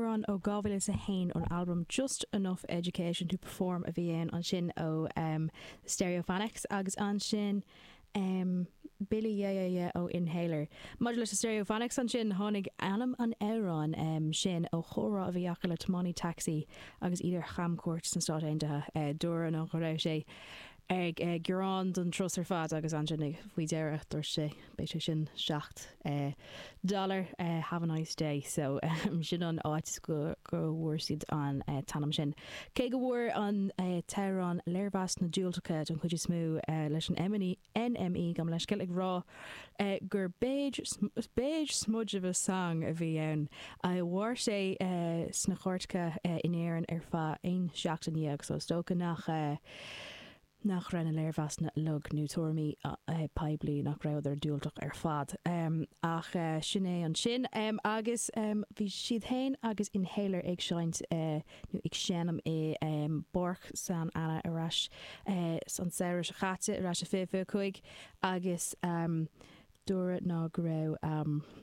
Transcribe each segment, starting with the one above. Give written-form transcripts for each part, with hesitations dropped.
Amhrán ó 2001 ón albam Just Enough Education to Perform a bhí ann ansin ó Stereophonics agus ansin Billy Yeah Yeah Yeah ó Inhaler. Maidir leis na Stereophonics ansin, tháinig ainm an amhráin sin ó chomhrá a bhí acu le tiománaí tacsaí agus iad ar chamchuairt sna Stáit Aontaithe. Dúradh ná go raibh sé ag gearán don turas ar fad agus ansin faoi dheireadh dúirt sé beidh sé sin 7 dollar have a nice day so sin an áit go bhfuair siad an t-ainm sin. Cé go bhfuair an t-amhrán léirmheasanna diúltacha don chuid is mó leis an NME gabh mo leithscéal ag rá gur beige beige smudge of a song a bhí ann. Mhair sé sna cairteacha in Éirinn ar feadh 11 seachtain so is dócha nach nach raibh na léirmheasanna uilig nó tuairimí poiblí nach rabhadar diúltach ar fad. Ach sin é ansin. Agus bhí siad féin agus Inhaler ag seinnt nó ag seinm i bPáirc San Anna ar ais an samhradh seo caite, ar ais i 2025 agus dúradh ná go raibh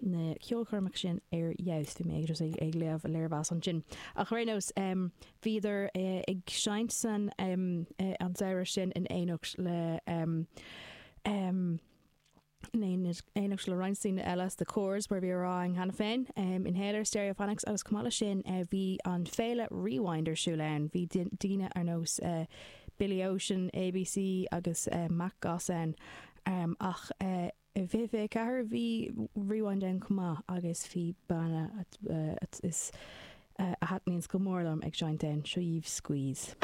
na ceolchoirmeacha sin ar fheabhas. Bhí mé just ag léamh léirmheas ansin. Ach ar aon nós, bhíodar ag seinnt san an samhradh sin in éineacht le in éineacht le roinnt daoine eile, The Corrs, mar a bhí á rá againn cheana féin, Inhaler, Stereophonics agus chomh maith leis sin bhí an féile Rewind ar siúl ann. Bhí daoine ar nós Billy Ocean, ABC agus Matt Goss ann. Ach i 2024 bhí Rewind ann chomh maith agus bhí banna is a thaitníonns go mór liom ag seinnt ann, seo dhaoibh Squeeze.